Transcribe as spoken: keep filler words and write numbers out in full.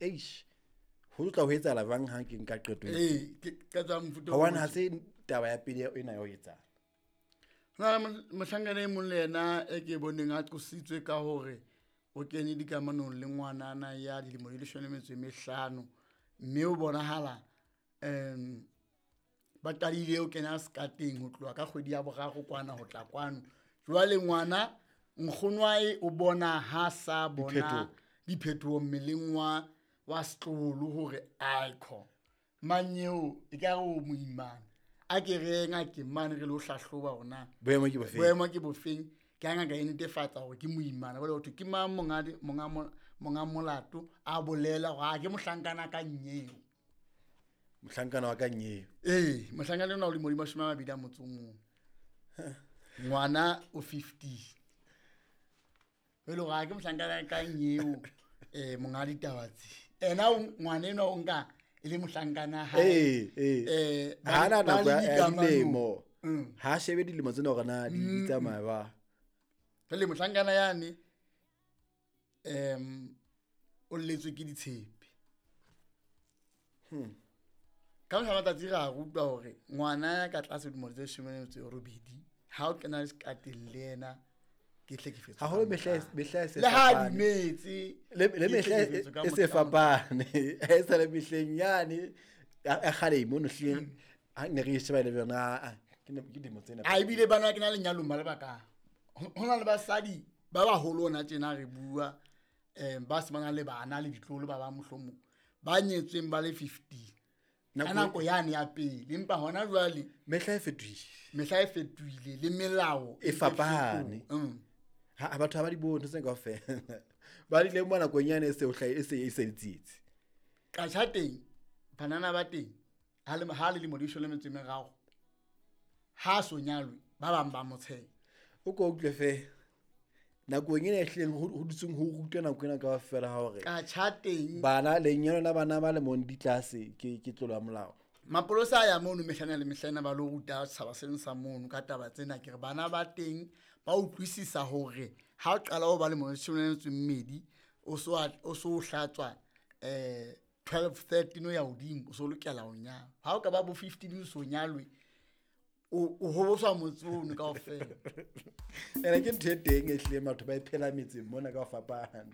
Eish, ho tla ho etsahala jwang ha ke nka qeto ena? Ee, ke qeto ya mofuta o Hobane ha motjha. se taba ya pele ena ya ho etsahala. Ho na le mohlankana e mong le yena e ke boneng a qositswe ka hore o kene dikamanong le ngwanana ya dilemo di leshome le metso e mehlano, mme o bonahala um ba qadile ho kena sekateng ho tloha ka kgwedi ya boraro kwana ho tla kwano. Jwale ngwana nkgono wa hae o bona ha sa bona Diphetoho. diphetoho mmeleng wa wa setloholo hore aikho manyeo e ka re o moimana, a ke re ye ngakeng mane re lo hlahloba hore na Boemo ke bofeng? boemo ke bofeng. Ke ha ngaka e netefatsa hore ke moimana, jwale ho thwe ke mang monga di-, monga mo-, monga molato, a bolela hore a ke mohlankana ka nyeo. Mohlankana wa ka nyeo. Ee, mohlankana ona o lemo di mashome a mabedi a motso o mong. Ngwana o fifty. E le hore ha ke mohlankana ka nyeo, eh, monga ditaba tse. Ena o, ngwana enwa o nka e le mohlankana ha hae. Ee, ee. Eh, ba Ha na le- ba nako le ya dikamanong. dilemo. Mm. Ha shebe dilemo tsena hore na di Mm. tsamaya ba. Jwale mohlankana yane, em, o lletswe ke ditshepe. Hmm. Ka mohla matsatsi re a rutwa hore ngwana ya ka tlase dilemo tse leshome le metso e robedi, ha o kena sekateng le yena, ke hlekefetso ka Haholo mehla e motabo. mehla e se Le ha fapane. dumetse, Le, le ke mehla e hlekefetso ka e se motabo. fapane. Ha e sa le mehleng yane, ya, ya kgale mono hleng, ha ne re e sheba le yona, ah, ah, ke ne, ke dilemo tsena. A ebile bana ke na lenyalong ba le bakae. Ho, ho na le basadi ba baholo hona tjena re bua, eh, ba se ba na le bana le ditloholo ba bang mohlomong, ba nyetsweng ba le fifty. Ka Nako nako yane ya pele, empa hona jwale mehla e fetohile. Mehla e fetohile le melao E fapane. e fetohile. Mm. Ha, ha batho ha ba di bone ntho tse kaofela. Ba di lemoha nakong yane e se o hlahe, e se, e se le tsietsi. Katjha teng, banana ba teng, ha le, ha le lemo di leshome le metso e meraro, ha so nyalwe, ba bang ba mo tsheha. O ko utlwe fe, nakong ena e hlileng ho, ho dutseng ho rutwa nako ena kaofela ha hore Katjha teng. bana, lenyalo la bana ba lemong di tlase ke, ke tlolo ya molao. Mapolesa a ya mono mehlana le mehlana ba lo ruta setjhaba seno sa mono ka taba tsena. Ke re bana ba teng ba utlwisisa hore ha o qala ho ba le leshome le metso e mmedi, o so a-, o so o hlatswa, eh, twelve, thirteen ho ya hodimo, o so lokela ho nyalwa. Ha o ka ba bo fifteen o so nyalwe, o, o hoboswa motse ono kaofela. Ene ke ntho e teng e hlileng batho ba e phela metseng mona ka ho fapana.